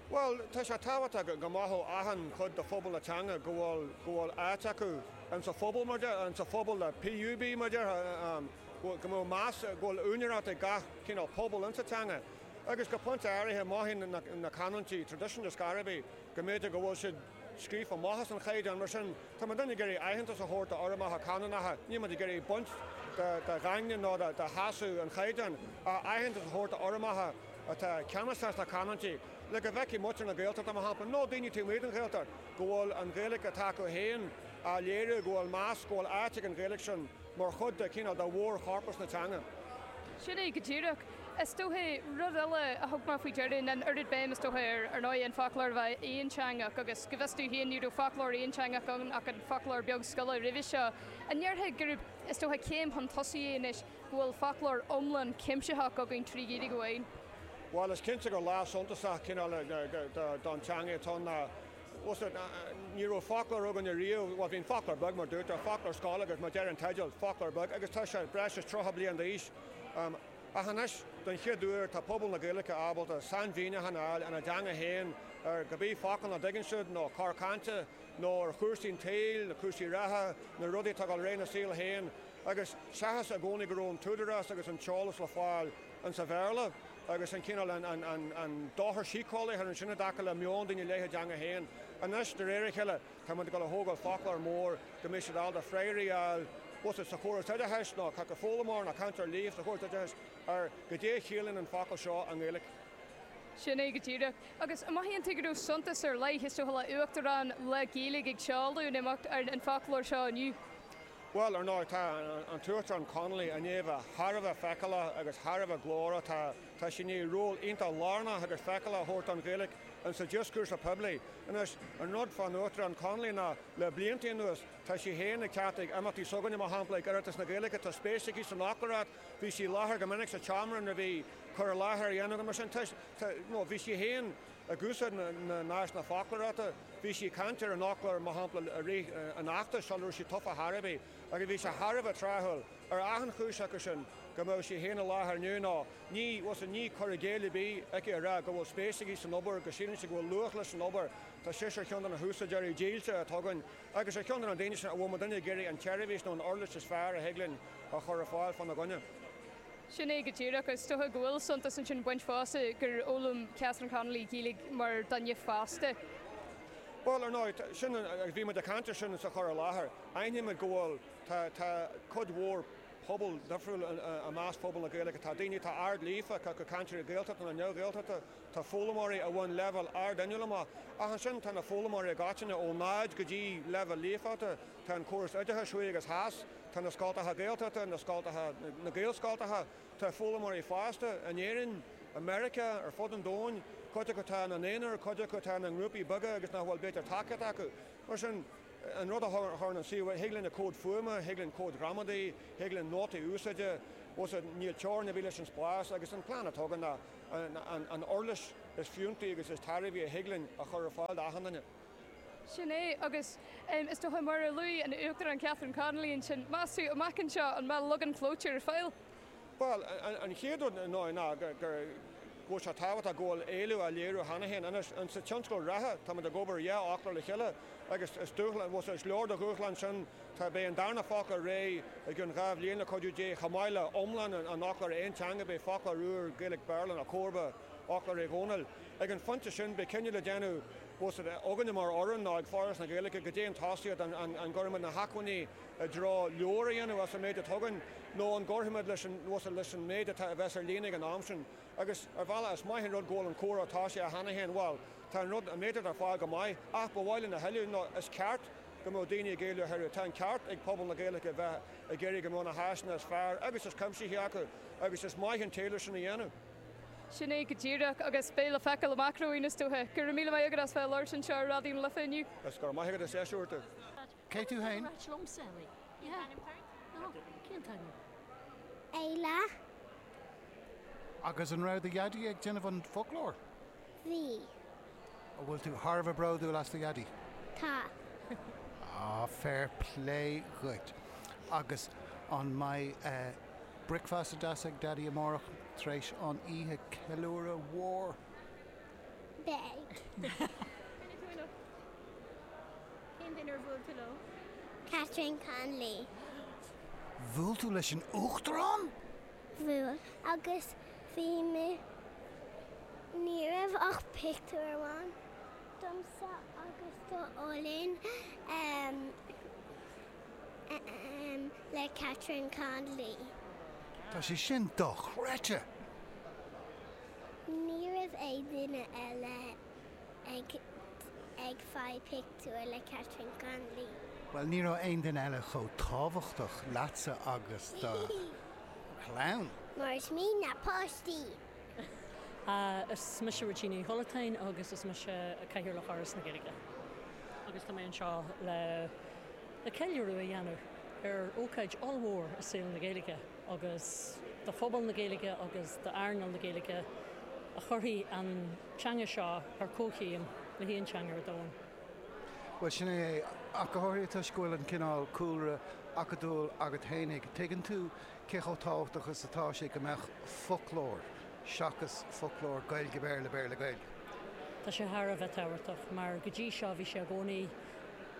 Bhuel, tá sé tábhachtach go mothódh achan chuid de phobal na teanga go bhfuil, go bhfuil áit acu insa phobal mar deir, insa phobal le PUB mar déarfá, go mbeadh meas, go bhfuil úinéireacht ag gach cineál pobal insa teanga. Agus go pointe áirithe mothaíonn na canúintí traidisiúnta scor ar bith go mb'fhéidir go bhfuil siad scríofa amach as an chaighdeán. Mar sin, tá muid ag iarraidh aitheantas a thabhairt d'fhoirmeacha canúnacha. Níl muid ag iarraidh baint de dhaingne ná de sheasamh an chaighdeáin, ach aitheantas a thabhairt d'fhoirmeacha atá ceannasach sna canúintí, le go bhfeicfidh muintir na Gaeltachta, mar shampla, nó daoine taobh amuigh den Ghaeltacht, go bhfuil an Ghaeilge atá acu féin á léiriú, go bhfuil meas, go bhfuil áit ag an Ghaeilge sin mar chuid de chineál de mhórchorpas na teanga. Sin é go díreach. Is dóiche, rud eile a thug mé faoi deara ná an oiread béim is dóiche ar, ar ndóigh, an foclóir a bheith aonteangach agus go bhfios domh féin ní raibh foclóir aonteangach ann ach an foclóir beag scoile roimhe seo. An ndéarfá gurb, is dóiche, céim chun tosaigh é anois go bhfuil foclóir iomlán cuimsitheach againn trí Ghaeilge amháin? Bhuel, is cinnte gur lá suntasach cineál don teanga atá ann ná, bhuel, ní raibh foclóir againn ariamh, bhuel, bhí an foclóir beag mar dúirt tú, foclóir scoile agus mar deir an teideal, foclóir beag agus tá sé breis is 30 bliain d'aois. Ach anois, don chéad uair, tá pobal na Gaeilge ábalta sainmhíniúchán a fháil ina dteanga féin ar cibé focal nach dtuigeann siad, nó cor cainte, nó ar chúrsaí an tsaoil, na cúrsaí reatha, na rudaí atá ag dul ar aghaidh ina saol féin. Agus seachas i gcónaí go raibh an t-údarás agus an t-eolas le fáil insa Bhéarla, agus an cineál, an dochar síceolaíoch ansin i dtaca le meon daoine i leith a dteanga féin. Anois, de réir a chéile, Tá muid ag dul a thógáil foclóir mór go mbeidh siad ábalta freagraí a fháil, bíodh sé sa chóras oideachais nó caithfidh foghlaimeoir nó cainteoir líofa sa chóras oideachais ar goidé a chiallaíonn an focal seo i nGaeilge. Sin é go díreach. Agus an mothaíonn tú go raibh suntas ar leith, is dócha, le Uachtarán le Gaeilge ag seoladh an imeacht ar an foclóir seo inniu? Bhuel, ar ndóigh, tá an tUachtarán Connolly i ndiaidh a bheith thar a bheith feiceálach agus thar a bheith glórach. Tá tá sí i ndiaidh ról iontach lárnach agus feiceálach a thabhairt don Ghaeilge insa dioscúrsa poiblí. Anois, an rud fán Uachtarán Connolly ná, le blianta anuas, tá sí féin ag teacht ag imeachtaí s'againne, mar shampla, ag Oireachtas na Gaeilge, tá spéis aici san fhoclóireacht, bhí sí i láthair go minic sa tseomra nuair a bhí cur i láthair á dhéanamh agam, mar sin, tá, tá, nó bhí sí féin ag úsáid na n-áiseanna foclóireachta, bhí sí ag caint ar an fhoclóir, mar shampla, i rith an fheachtais sula raibh sí tofa chor ar bith, agus bhí sé thar a bheith tráthúil, ar achan chúis acu sin, go mbeadh sí féin i láthair inniu, nó. Ní, bhuel, ní cur i gcéill ar bith aici a rá go bhfuil spéis aici san obair, go síleann sí go bhfuil luach leis an obair. Tá sise ar cheann de na húsáideoirí dílse atá againn agus ar cheann de na daoine sin a bhfuil muidinne ag iarraidh an tseirbhís nó an uirlis is fearr a thig linn a chur ar fáil fána gcoinne. Sin é go díreach. Is dócha go bhfuil suntas ansin ag baint fosta gur fhoghlaim Catherine Connolly Gaeilge mar duine fásta. Bhuel, ar ndóigh, sin, agus bhí muid ag caint air sin sa chur i láthair, aithnímid go bhfuil, tá, tá cuid mhór, pobal difriúil i measc phobal na Gaeilge. Tá daoine atá ard-líofa, cé acu cainteoirí Gaeltachta nó neamh-Ghaeltachta, tá foghlaimeoirí a bhain leibhéal ard inniúil amach. Ach ansin tá na foghlaimeoirí i gcoitinne ó náid go dtí leibhéal líofachta, tá an córas oideachais thuaidh agus theas, tá na scoltacha Gaeltachta, na scoltacha, na Gaelscoltacha, tá foghlaimeoirí fásta in Éirinn, i Meiriceá, ar fud an domhain, cuid acu atá ina n-aonar, cuid acu atá ina ngrúpaí beaga agus nach bhfuil b'fhéidir tacaíocht acu. Mar sin, An rud a chuireann an suíomh, thig linn comhaid fuaime, thig linn comhaid ghramadaí, thig linn nótaí úsáide, bhuel níl teorainn ar bith leis an spás agus an plean atá againn ná an uirlis is fiúntaí agus is tairbhí a thig linn a chur ar fáil d'achan duine. Sin é, agus is dócha mar a luaigh an Uachtarán Catherine Connolly ansin, meas tú, amach anseo, an mbeidh leagan clóite ar fáil? Bhuel, an chéad rud ná go bhfuil sé tábhachtach go bhfuil éileamh á léiriú cheana féin. Anois, sa tionscal reatha, táimid ag obair ar dhá fhoclóir le chéile agus is dúshlán, bhuel, is leor de dhúshlán sin. Tá, beidh an darna foclóir réidh i gcionn 2 bhliain le cuidiú Dé, chomh maith le iomlán an fhoclóra aon teanga, beidh foclóir úr Gaeilge-Béarla nó comharba Fhoclóir Uí Dhónaill. Ag an phointe sin, beidh cinneadh le déanamh. Bhfuil a fhios againne mar fhoireann nó ag Foras na Gaeilge goidé an tosaíocht, an gcuirfimid na hacmhainní i dtreo leabhar a dhéanamh as an méid atá againn nó an gcuirfimid leis an, leis an méid atá, a bheas ar líne ag an am sin. Agus ar bhealach is maith an rud go bhfuil an comhrá tosaithe cheana féin, bhuel, tá an rud, an méid atá ar fáil go maith ach ba mhaith linn a thuilleadh nó is ceart go mbeadh daoine ag éileamh a thuilleadh. Tá an ceart ag pobal na Gaeilge a bheith ag iarraidh go mbeadh na háiseanna is fearr agus is cuimsithí acu agus is maith an t-éileamh sin a dhéanamh. Sin é go díreach, agus beidh le feiceáil amach romhainn is dócha. Go raibh míle maith agat as bheith ag labhairt anseo ar Raidió na Life inniu. Is go raibh maith agat as deis a thabhairt domh. Cé tú fhéin? Éile. Agus an raibh do dhaidí ag déanamh an foclóir? Bhí. An bhfuil tú thar a bheith bródúil as do dhaidí? Tá. Ah, fair play dhuit. Agus an mbeidh bricfeasta deas ag Daidí amárach tar éis an oíche ceiliúradh mhór? Beidh. Cén duine ar bhuail tú leo? Catherine Connolly. Bhuail tú leis an Uachtarán? Bhuail. Agus bhí mé, ní raibh ach pictiúr amháin domsa agus do Oilin le Catherine Connolly. Tá sé sin dochreidte! Ní raibh aon duine eile ag ag fáil pictiúr le Catherine Connolly. Bhuel, ní raibh aon duine eile chomh tábhachtach leatsa agus do chlann. Mar is muid na páistí! Is mise Róisín Ní Chollatáin agus is mise Cathaoirleach Fhoras na Gaeilge agus tá mé anseo le le ceiliúradh a dhéanamh ar ócáid ollmhór i saol na Gaeilge agus do phobal na Gaeilge agus d'earnáil na Gaeilge a chuirfidh an teanga seo ar comhchéim le haon teanga ar domhan. Bhuel, sin é é, ach go háirithe toisc go bhfuil an cineál cúlra acadúil agat fhéinig, tuigeann tú cé chomh tábhachtach is atá sé go mbeadh foclóir seachas foclóir Gaeilge-Béarla, Béarla-Gaeilge. Tá sé thar a bheith tábhachtach mar go dtí seo bhí sé i gcónaí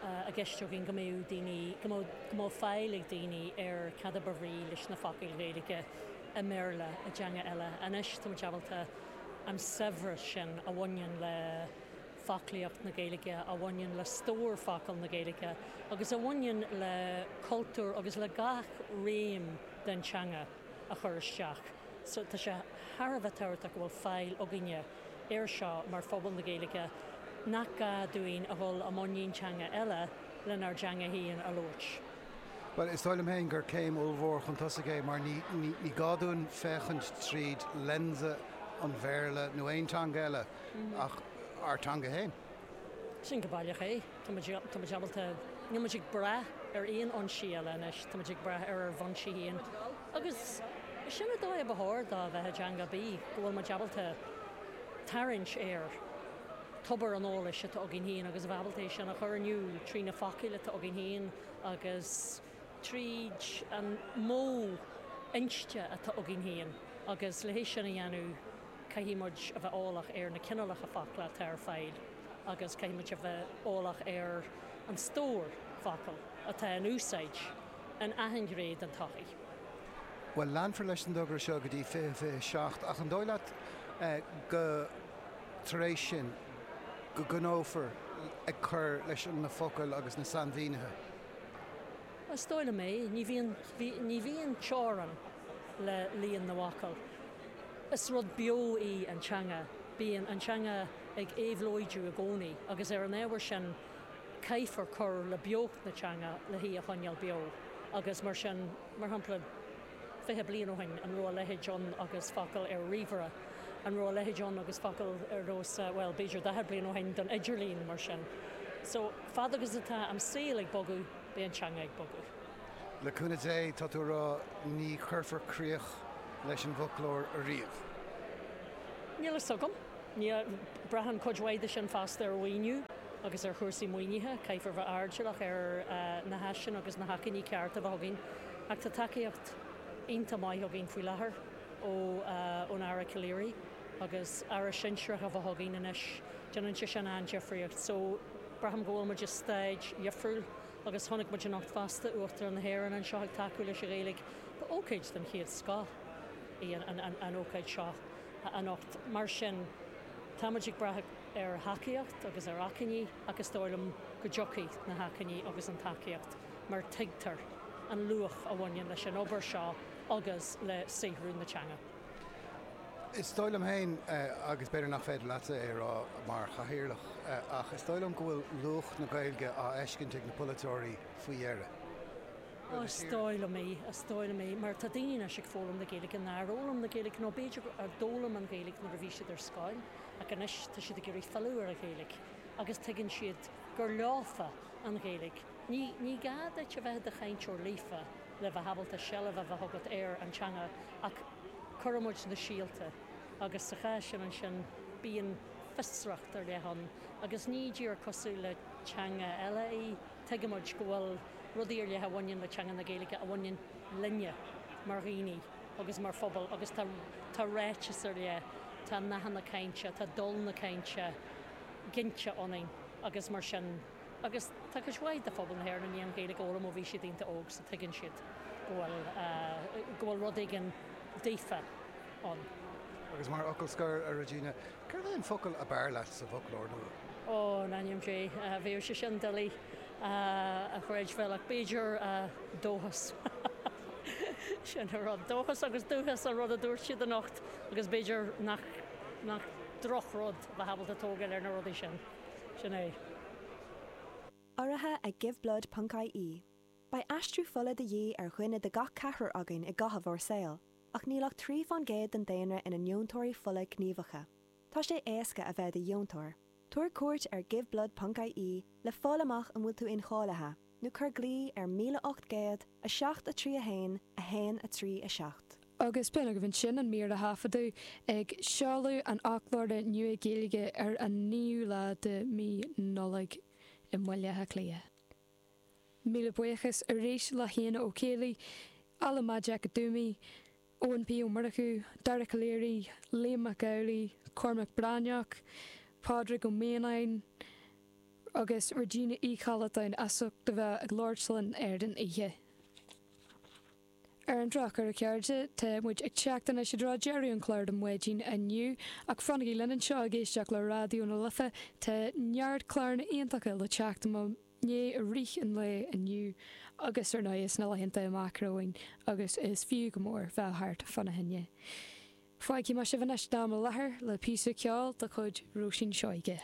i gceist againn go mbeadh daoine, go mbeadh, go mbeadh fáil ag daoine ar cad a ba bhrí leis na focail Ghaeilge i mBéarla, i dteanga eile. Anois tá muid ábalta an saibhreas sin a bhaineann le foclaíocht na Gaeilge, a bhaineann le stór focal na Gaeilge agus a bhaineann le cultúr agus le gach réim den teanga a chur isteach. So tá sé thar a bheith tábhachtach go bhfuil fáil againne air seo mar phobal na Gaeilge, nach gá dúinn a dhul i muinín teanga eile lenár dteanga féin a labhairt. Bhuel, is dóigh liom féin gur céim ollmhór chun tosaigh é mar ní ní gá dúinn féachaint tríd lensa an Bhéarla nó aon teanga eile ach ár dteanga féin. Sin go baileach é. Tá muid tá muid ábalta, níl muid ag brath ar aon fhoinsí eile anois, tá muid ag brath ar ár bhfoinsí féin. Agus sin an dóigh a ba chóir dó a bheith i dteanga ar bith, go bhfuil muid ábalta tarraingt ar tobar an eolais atá againn féin agus a bheith ábalta é sin a chur in iúl trí na focail atá againn féin. agus tríd an modh inste atá againn féin, agus le hé sin a dhéanamh caithfidh muid a bheith eolach ar na cineálacha focla atá ar fáil agus caithfidh muid a bheith eolach ar an stór focal atá in úsáid in achan ghné den tsochaí. Bhuel, leanfar leis an dtogra seo go dtí 2027, ach an dóigh leat go, tar éis sin, go gcoinneofar ag cur leis na focail agus na sainmhínithe? Is dóigh liom é. Ní bhíonn, ní bhíonn teorainn le líon na bhfocal. Is rud beo í an teanga. Bíonn an teanga ag éabhlóidiú i gcónaí agus ar an ábhar sin caithfear cur le beocht na teanga le hí a choinneáil beo agus mar sin, mar shampla, 20 bliain ó shin, an raibh a leithéid ann agus focal ar ríomhaire? An raibh a leithéid ann agus focal ar nós, bhuel, b'fhéidir 40 bliain ó shin don idirlíon, mar sin. So, fad agus atá an saol ag bogadh, beidh an teanga ag bogadh. Le cúnamh Dé, tá tú a rá, ní chuirfear críoch leis an bhfoclóir ariamh. Níl fhios agam. Braitheann cuid mhaith de sin fosta ar mhaoiniú agus ar chúrsaí maoinithe. Caithfear bheith airdeallach ar na háiseanna agus na hacmhainní cearta a bheith againn. Ach tá tacaíocht iontach maith againn faoi láthair ó ón Aire Calleary agus Aire sinsearach a bheith againn anois, déanann sé sin an-difríocht. So, braithim go bhfuil muid i staid dhifriúil agus chonaic muid anocht fosta Uachtarán na hÉireann anseo ag tacú leis an Ghaeilge. Ba ócáid den chéad scoth í an ócáid seo anocht. Mar sin, tá muid ag brath. ar thacaíocht agus ar acmhainní ach is dóigh liom go dtiocfaidh na hacmhainní agus an tacaíocht mar tuigtear an luach a bhaineann leis an obair seo agus le saothrú na teanga. Is dóigh liom féin, agus b'fhéidir nach féidir leatsa é a rá mar chathaoirleach, ach is dóigh liom go bhfuil luach na Gaeilge á fheiscint ag na polaiteoirí faoi dheireadh. Ó, is dóigh liom é, is dóigh liom é, mar tá daoine anois ag foghlaim na Gaeilge nár fhoghlaim na Gaeilge, nó b'fhéidir a d'fhoghlaim an Ghaeilge nuair a bhí siad ar scoil, ach anois tá siad ag iarraidh filleadh ar an Ghaeilge agus tuigeann siad gur leofa an Ghaeilge. Ní, ní gá duit a bheith i do chainteoir líofa le bheith ábalta seilbh a bheith agat ar an teanga ach cuireann muid na síolta agus sa chás sin ansin bíonn fiosracht ar leith ann agus ní díreach cosúil le teanga eile í, tuigimid go bhfuil rudaí ar leith a bhaineann le teanga na Gaeilge a bhaineann linne mar dhaoine agus mar phobal agus tá tá ráiteas ar leith, tá nathanna cainte, tá dul na cainte ginte ionainn agus mar sin agus tá cuid mhaith de phobal na hÉireann i ndiaidh an Ghaeilge a fhoghlaim ó bhí siad iontach óg so tuigeann siad go bhfuil go bhfuil rud éigin daofa ann. Agus mar fhocal scoir, a Regina, céard é an focal ab fhearr leat sa bhfoclóir nua? Ó, in ainm Dé, bheadh sé sin doiligh a chreidbheáil ach b'fhéidir dóchas. Sin an rud. Dóchas agus dúchas an rud a dúirt siad anocht agus b'fhéidir nach, nach drochrud a bheith ábalta tógáil ar na rudaí sin. Sin é. Urraithe ag Giveblood ponc ie. Beidh aistriú fola de dhíth ar dhuine de gach ceathrar againn i gcaitheamh ár saoil, ach níl ach 3 fán gcéad den daonra ina ndeontóirí fola gníomhacha. Tá sé éasca a bheith i do dheontóir. Tabhair cuairt ar giveblood ponc ie le fáil amach an bhfuil tú incháilithe, nó cuir glao ar 1800 7 3 1 1 3 7. Agus b'in agaibh ansin an mír a thaifeadadh ag seoladh an fhoclóra nua Gaeilge ar an 9ú lá de mí Nollag i mBaile Átha Cliath. Míle buíochas arís le hÉanna Ó Ceallaigh, Alan Maidhc Dúmaí, Eoin P Ó Murchú, Dara Calleary, Liam Mac Amhlaigh, Cormac Breathnach, Pádraig Ó Mianáin agus Regina Uí Chollatáin as ucht a bheith ag labhairt linn ar an oíche. Ar an drochuair, a chairde, tá muid ag teacht anois i dtreo deireadh an chláir don mhaidin inniu, ach fanaigí linn anseo ag éisteacht le Raidió na Life, tá neart cláranna iontacha le teacht i mo ndiaidh i rith an lae inniu agus ar ndóigh sna laethanta amach romhainn agus is fiú go mór bheith thart fána choinne. Fágfaidh mé sibh anois d'am i láthair le píosa ceoil de chuid Róisín Seoige.